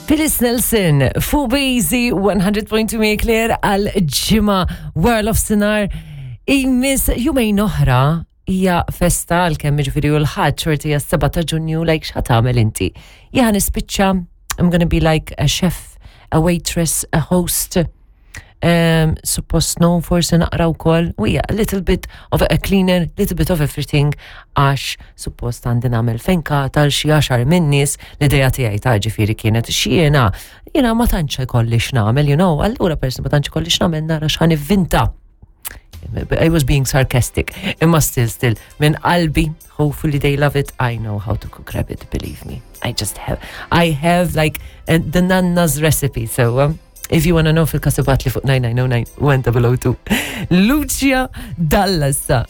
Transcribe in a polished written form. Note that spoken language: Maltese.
Phyllis Nelson, fuq Bazy 100.2 Marie Claire għal ġimgħa World of Sinar Imis jumejn oħra hija festa għal kemm jiġifieri u l-ħadd xorti hija 7 ta' Ġunju like x'ħa tagħmel inti. Jien nispiċċa I'm gonna be like a chef, a waitress, a host. Um, suppost no, forsi naqra wkoll, u hija a little bit of a cleaner, little bit of everything, għax suppost għandi nagħmel fenka tal xi għaxar minn nies l-idea tiegħi ta' ġifieri kienet x'jiena jiena ma tantx ikolli x'nagħmel, you know, allura persi ma tantx ikolli x'nagħmel nara x'ħan ivvinta. I was being sarcastic. Imma still, still, minn qalbi, hopefully they love it. I know how to cook rabbit, believe me. I just have, I have like uh, the nanna's recipe. So, um, if you wanna know fil-kasibat li fuq 9909 1002. Lucia Dallasa.